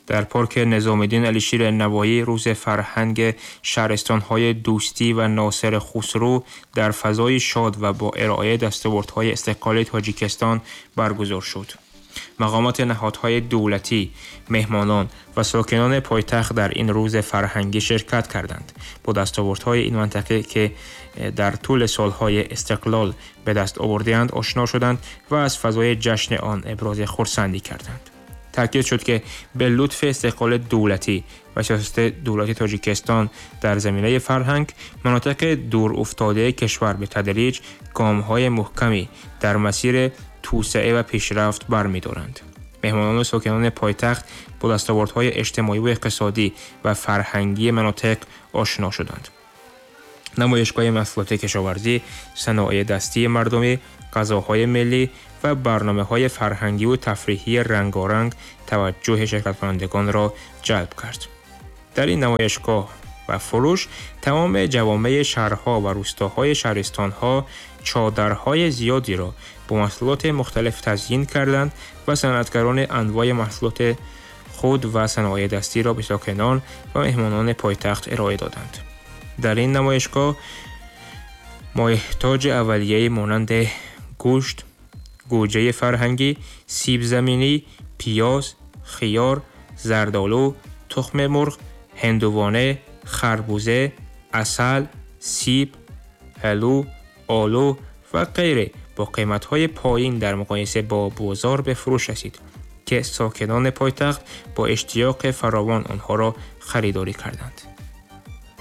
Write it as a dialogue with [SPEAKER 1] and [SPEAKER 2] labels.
[SPEAKER 1] Дар парк Низомиддин Алишер Навоӣ рӯзи фарҳанг шаҳристонҳои Дӯстӣ ва Носири Хусрав дар фазои шод ва бо ироаи дастовардҳои истиқлоли Тоҷикистон баргузор шуд. Мақомоти ниҳодҳои давлатӣ, меҳмонон ва сокинони пойтахт дар ин рӯзи фарҳангӣ ширкат карданд. Бо дастовардҳои ин минтақа, ки дар тӯли солҳои истиқлол ба даст овардаанд, ошно шуданд ва аз фазои ҷашни он ибрози хурсандӣ карданд. Таъкид шуд, ки ба лутфи истиқлоли давлатӣ ва сиёсати давлати Тоҷикистон дар заминаи фарҳанг, минтақаи дурофтодаи кишвар ба тадриҷ гомҳои маҳкаме дар масири توسعه و پیشرفت برمی‌دارند. مهمانان و ساکنان پایتخت با دستاوردهای اجتماعی و اقتصادی و فرهنگی مناطق آشنا شدند. نمایشگاه محصولات کشاورزی، صنایع دستی مردمی، غذاهای ملی و برنامه‌های فرهنگی و تفریحی رنگارنگ توجه شرکت‌کنندگان را جلب کرد. در این نمایشگاه و فروش تمام جوامع شهرها و روستاهای شهرستان‌ها چادرهای زیادی را با محصولات مختلف تزیین کردند و صنعتگران انواع محصولات خود و صنایع دستی را به ساکنان و مهمانان پایتخت ارائه دادند. در این نمایشگاه مایحتاج اولیه مانند گوشت، گوجه فرهنگی، سیب زمینی، پیاز، خیار، زردآلو، تخم مرغ، هندوانه، خربوزه، عسل، سیب، هلو، آلو و غیره با قیمت‌های پایین در مقایسه با بازار به فروش رسید که ساکنان پایتخت با اشتیاق فراوان آنها را خریداری کردند.